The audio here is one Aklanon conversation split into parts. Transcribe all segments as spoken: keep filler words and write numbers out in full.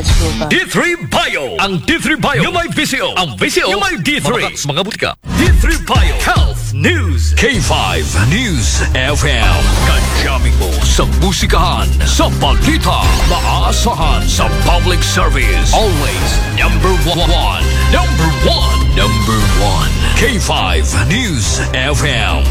D three Bio. Ang D three Bio yung may visyo. Ang visyo yung may D three. Mga, mga butika. D three Bio Health News. K five News F M. Kadyamin mo sa musikahan, sa balita, maasahan sa public service. Always number one. Number one. Number one. K five News F M.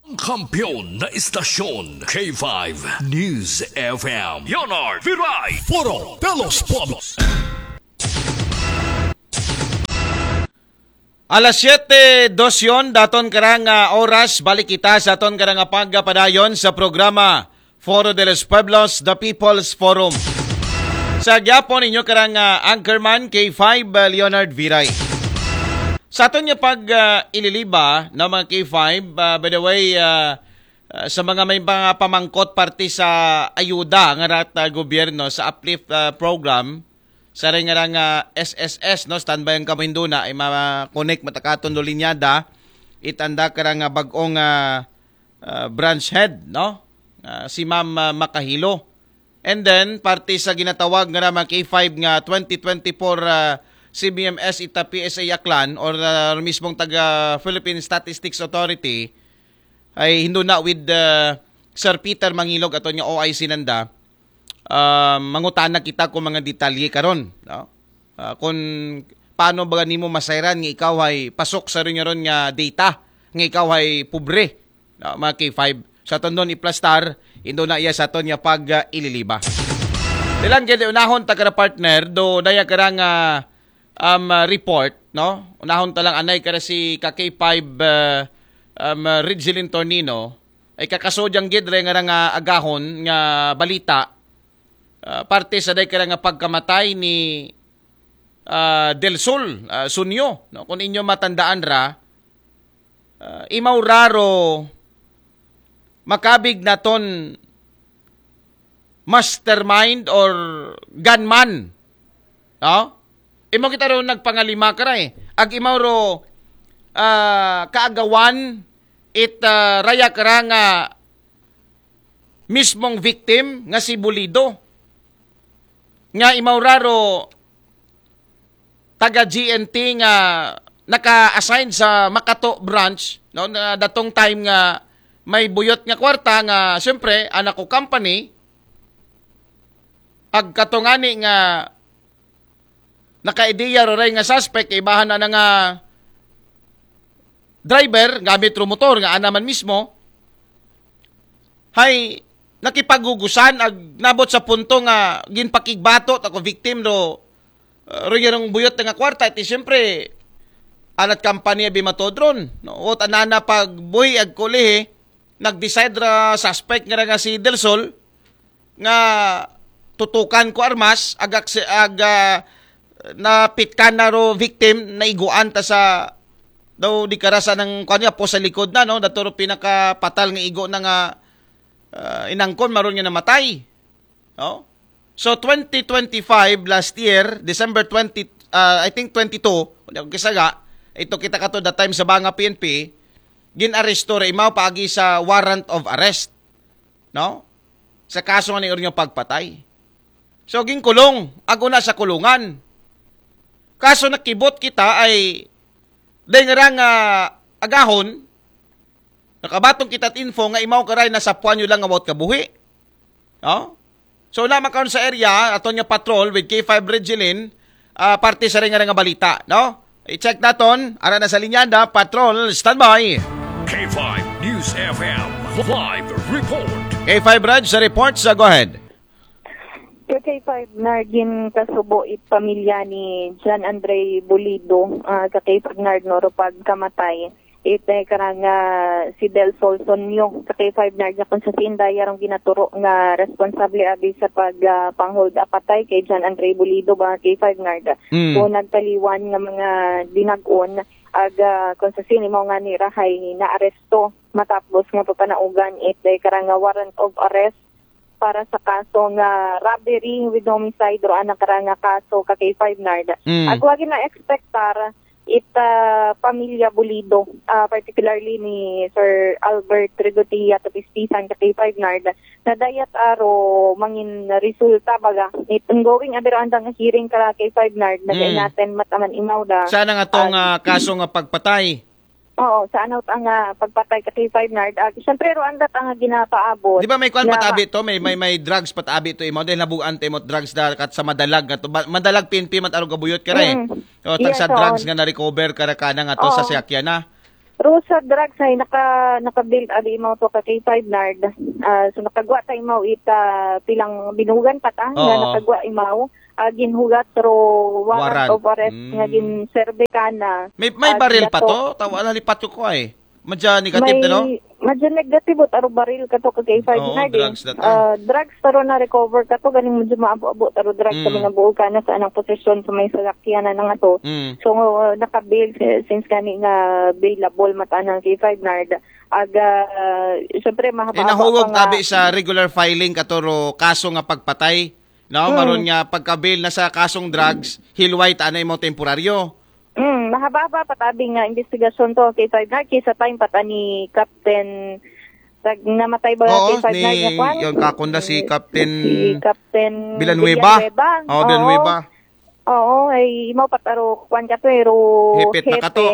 Ang kampiyon na istasyon, K five News F M. Leonard Viray. Foro de los Pueblos. Alas siyete dos yon, daton karang ah, oras, balik kita sa aton karang ah, pagpadayon sa programa Foro de los Pueblos, The People's Forum. Sa gyapon inyo karang ah, anchorman, K five ah, Leonard Viray. Sa aton nga pag ah, ililiba na mga K five, ah, by the way, ah, ah, sa mga may mga pamangkot parte sa ayuda nga rat ah, gobyerno sa Uplift ah, program, sa rin nga nga S S S, no, standby ang kamo hinduna, ay ma-connect matakaton do linyada, itanda ka nga bag-ong ah, ah, branch head, no? Ah, si Ma'am ah, Makahilo. And then, parte sa ginatawag nga mga K five nga twenty twenty-four ah, C B M S ita P S A Aklan or ah, mismong taga Philippine Statistics Authority, ay hinduna with ah, Sir Peter Mangilog aton nga O I C nanda. Ah, mangutana kita kung mga detalye karon, no? Ah, kung paano ba nimo masayran nga ikaw ay pasok sa ron nga data nga ikaw ay pobre, no? Mga K five. Sa tondon iplastar, indo na iya sa aton nga pag ah, ililiba. Dilan gid unahon ta kara partner do daya kara nga um, ah, report, no? Unahon ta lang anay kara si ka K five ah, um, ah, Ridgeline Tornino ay kakasodyang gid re nga nga agahon nga balita ah, parte sa day kara nga pagkamatay ni ah, Del Sol ah, Sunyo, no? Kung inyo matandaan ra, ah, imaw raro makabig naton mastermind or gunman, no? Imo kita ro nagpangalima kara eh. Ag imaw ro ah, kaagawan it ah, raya kara nga mismong victim nga si Bulido. Nga imaw raro taga G N T nga naka-assign sa Makato branch, no, na datong time nga may buyot nga kwarta nga siyempre anak ko company, ag katungani nga naka-ideya ro ray nga suspect, ibahan na, na nga driver gamit ro motor nga ana man mismo, hay nakipagugusan ag nabot sa punto nga ginpakigbato ta ko victim do uh, ro yarong buyot nga kwarta. Iti siyempre anat kampanya bimatodron, no? Wot anana pagbuhi ag kulihi, nag-decide ra suspect nga ra nga si Del Sol nga tutukan ko armas, agak si aga napitkan na ro victim, naiguan ta sa daw di karasa ng kuan niya po sa likod na, no? Dato ro pinakapatal nga igo na nga ah, inangkon maron nga namatay, no? So twenty twenty-five, last year, December twenty, ah, I think twenty-two, wala ko kisaga, ito kita kato that time sa Banga P N P, gin-aresto ra imaw paagi sa warrant of arrest, no? Sa kaso nga ni nga pagpatay. So ginkulong, ag una sa kulungan. Kaso nakibot kita ay dahil nga nga agahon, nakabatong kita info nga imaw karay nasapuan nyo lang nga wot kabuhi. No? So na makaon sa area, aton nga patrol with K five Regilin, ah, parte sa ring nga balita, no? I-check naton, ara na sa linyada, patrol, standby. K five News F M, live report. K five Reg, sa report, sa go ahead. Sa K five Nard, gin kasubo it pamilya ni John Andre Bulido, ah, sa K five Nard, no, ro pagkamatay. Ite karang ah, si Del Sol Sonyo sa K five Nard nga kung sa sinda yarong ginaturo nga responsable abi sa pag ah, pang-hold up atay kay John Andre Bulido ba K five Nard. Mm. So nagtaliwan nga mga dinag-on ag ah, kung sa sini mo nga ni Rahay naaresto matapos nga papanaugan ite karang nga warrant of arrest para sa kaso nga robbery with homicide ro anak ra nga kaso ka K five Nard. Mm. Ag wagi na expectar ita pamilya Bulido, ah, particularly ni Sir Albert Regotia Tapispisan ka K five Nard, na dayat aro mangin resulta baga. It ongoing abi ro anda nga hearing ka K five Nard, na Mm. Natin mataman imaw da. Sana nga tong Ah, ah, kaso nga pagpatay. Oo, sa ano ta nga pagpatay ka K five Nard. Ah, siyempre ro anda ta nga ginapaabot. Di ba may kwan na patabi to? May may may drugs patabi to imo dahil nabugan ta imo drugs da kat sa madalag nga to. Ba- Madalag P N P man aro gabuyot ka ra eh. Mm. O, tag Yes, sa oo. Drugs nga na-recover ka ra kana nga to sa Oo. Siyakyan na. Ro sa drugs ay naka naka-build abi imaw to ka K five Nard. Ah, so nakagwa ta imaw ita pilang binugan pat ah, nga Oo. Nakagwa imaw, ah, ginhugat ro warrant Warrant. of arrest Mm. nga ginserbe kana. May may Ah, baril pa giyato. to? Tawa na lipat ko ko ay. Madya negative May to, no? Madya negative o taro baril ka to ka K five Oo, Nard eh. Drugs na to. Ah, drugs taro na recover ka to galing madya maabo-abo taro drugs Mm. kami na buo kana sa anang posisyon sa may salakyan na nga to. Mm. So, naka-bail si- since gani nga bailable mata ng K five Nard. Aga, ah, syempre, mahaba-haba Inahugog pa nga. Tabi sa regular filing katuro kaso nga pagpatay. No, Mm. Maron nga pagka-bail na sa kasong drugs, hilway ta na imo temporaryo. Mm, mahaba-haba pa tabi nga investigasyon to, K five Nard, kisa time pa ta ni Captain, tag, namatay ba Oo, K five Nard ni, nga kwan? Yun, kakunda si Captain Si Captain Villanueva. Villanueva. Oo, Oo. Villanueva. Oo, ay, imaw pataro, kwan ka to, eh, ro Hipit na hepe. Kato.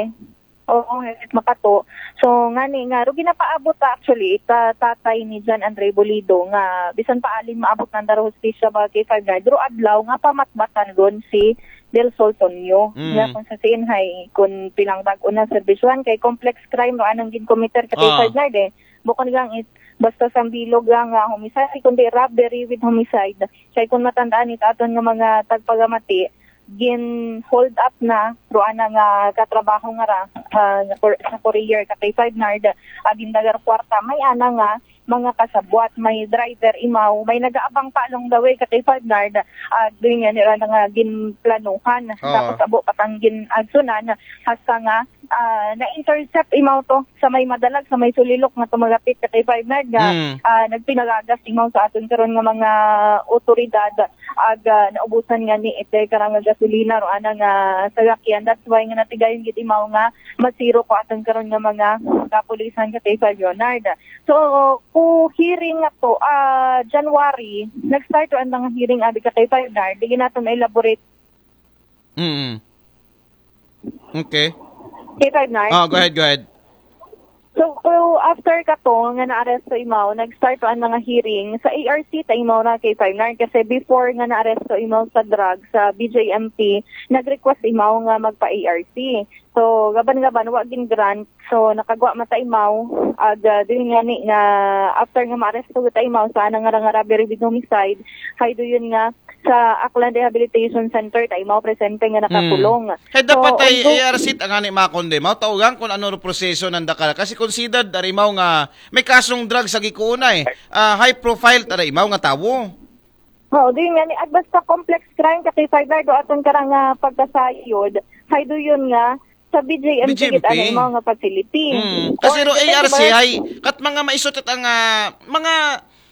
Oo, hipit makato. So, ngani nga, ro ginapaabot ta actually, ita tatay ni John Andre Bolido nga, bisan pa alin maabot nanda ro hustisya ba K five Nard, ro adlaw nga pamatbatan ron si Del Sol Tonyo. Mm. Nga kung sa siin hay, kung pilang bag-o na serbisyohan kay complex crime ro anang ginkomiter ka Ah. K five Nard eh. Bukod gang it, basta sambilog lang nga homicide, kundi robbery with homicide. Kay kung matandaan it aton nga mga tagpagamati, gin-hold up na ro ana nga katrabaho nga ra, ah, nga kur-, sa courier ka K five Nard, ah, gindagar kwarta, may ana nga mga kasabwat, may driver imaw, may nagaabang pa along the way ka K five Nard, ah, doon nga nila na nga ginplanuhan. Oo. Tapos abo patang gin-agsunan, hasta nga, ah, na-intercept imaw to sa may madalag, sa may sulilok nga tumagapit ka K five Nard nga, Mm. ah, nagpinagagas imaw sa aton karon nga mga otoridad. Aga naubusan nga ni ite karang nga gasolina ro ana nga salakyan. That's why nga natigayon gid imaw nga masiro ko aton karon nga mga kapulisan ka K five Leonard. So, ku hearing nga to, ah, January, nag-start ro ang mga hearing abi ka K five Nard. Di nato na-elaborate. Mm. Okay. K five Nard. Oh, go ahead, go ahead. So, ku after ka to nga naaresto imaw, nag-start to ang mga hearing sa A R C ta imaw na K five Nard kasi before nga naaresto imaw sa drug sa B J M P, nag-request imaw nga magpa-A R C. So, gaban-gaban, wa gin-grant. So, nakagwa mata imaw. Ag, ah, doon nga ni nga after nga maaresto ta imaw sa anang nga nga robbery with homicide, hay doon nga sa Aklan Rehabilitation Center ta imaw presente nga nakakulong. Hay So, dapat ay undo- A R C ang ani makonde. Mao taugang kung ano ro proseso ng dakal. Kasi considered ari imaw nga may kasong drug sa gikuunay. Ah, high profile tara imaw nga tawo. Oo, di nga ni at basta complex crime ka K five Nard do aton karang nga pagkasayod. Hay do yun nga sa B J M P B J M P. Gid ano imaw nga facility. Mm. Kasi Or ro depende A R C ba? Ay kat mga maisot at ang ah, mga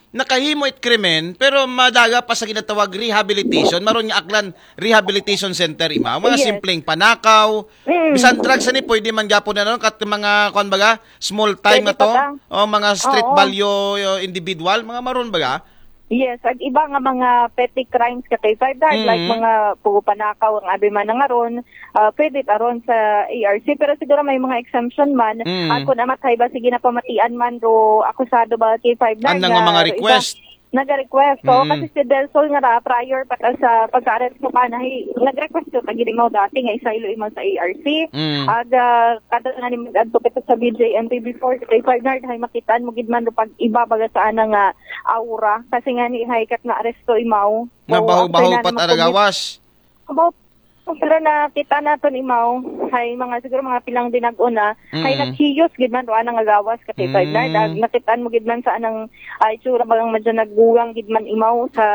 nakahimo it krimen pero madaga pa sa ginatawag rehabilitation, maron nga Aklan Rehabilitation Center ima. Mga Yes. simpleng panakaw, Mm. bisan drugs ani pwede man gapon na ron kat mga kuan baga small time Pwede na to. pa ta. O mga street Oo. value uh, individual, mga maron baga. Yes, ag iba nga mga petty crimes ka kay five Mm. like mga pugo panakaw ang abi man nga ron, ah, pwede ta ron sa A R C pero siguro may mga exemption man. Mm. Ah, kung amat hay ba sige na pamatian man ro akusado ba kay five Ang nga mga ro iba request. Naga-request. So, Mm. kasi si Del Sol nga ra, prior pa ta sa pagka-arrest mo ka na, hey, nag-request ko, tagid mo dati nga isaylo imaw sa A R C. Mm. Ag, ah, kada nga ni mag-advocate sa B J M P before, sa kay five Nard, hay makitaan mo gid man pag iba baga sa ana nga aura. Kasi nga ni hay kat nga aresto imaw. Nabaho-baho pat aragawas. About Pero nakita naton imaw, hay mga siguro mga pilang dinag-on na, hay Mm. naghiyos gid man ro anang agawas ka K five Mm. Nard. Ag nakitaan mo gid man sa anang, ay, itsura bagang madya naggugang gid man imaw sa,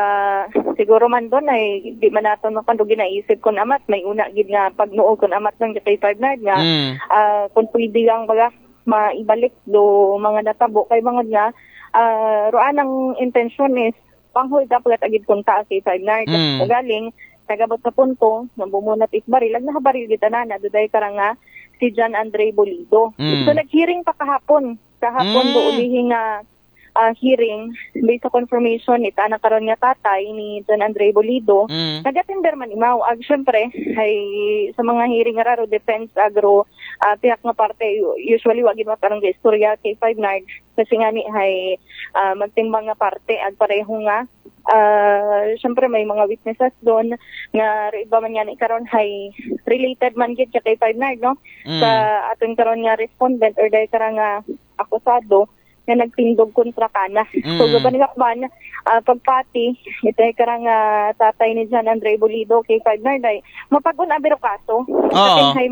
siguro man doon ay di man naton no, kung ginaisip kung amat, may una gid nga pagnuo kung amat doon ka K five Nard nga, Mm. ah, kung pwede lang baga maibalik do mga natabo kay bangod nga, ah, ro anang intensyon is pang-hold up agad agid kunta si Five Nard. Mm. Ugaling, nagabot sa punto nga bumunat it baril, ag nahabaril gid tanan, adu diay karang nga si John Andre Bolido. Mm. So, nag-hearing pa kahapon. Kahapon, Mm. buulihi nga ah, hearing, based sa confirmation, ita na karon nga tatay ni John Andre Bolido, Mm. nag-attender man imaw. Ag, syempre, ay sa mga hearing nga raro, defense, agro, ah, pihak nga parte, usually, wa gid matarong istorya kay Five Nard. Kasi nga ni, ay ah, magtimbang nga parte, ag pareho nga, ah, syempre, may mga witnesses doon nga, iba man nga ni karon, ay related man gid siya kay Five Nard, no? Mm. Sa aton karon nga respondent or dahil karang nga akusado, nga nagtindog kontra kana. So, Mm. gaban nga man, ah, pagpati, ito ay karang ah, tatay ni John Andre Bolido kay Five Nard ay mapag-un abiro kaso. Oo. Sa may